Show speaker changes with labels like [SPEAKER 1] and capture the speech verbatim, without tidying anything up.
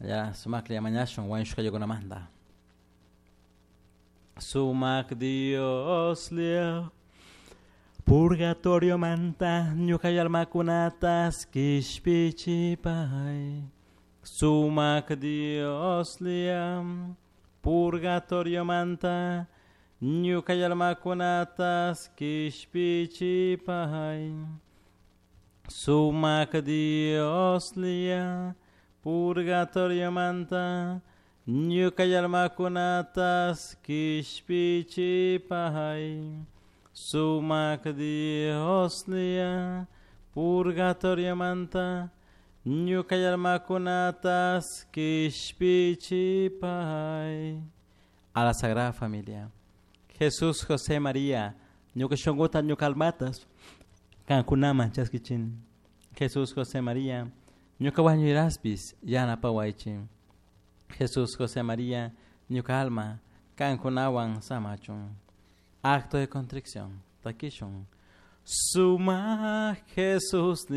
[SPEAKER 1] Ya sumaklla mañashun wañushkallakunamanta. Sumak Dioslla purgatorio manta ñuka almakunatas kishpichipay. Sumak Dioslla purgatorio manta ñuka almakunatas kishpichipay. Sumak Dioslla purgatorio manta ñuka almakunatas kishpichipay. Sumak Dioslla purgatorio manta ñuka almakunatas kishpichipay. A la Sagrada Familia. Jesús, José, María, ñuka shunkuta ñuka almatas kankunaman chaskichin. Jesús, José, María, ñuka wañuiraspis yanapawaychik. Jesús, José, María, ñuka alma kankunawan samachun. Acto de contrición. Takishun. Suma Jesús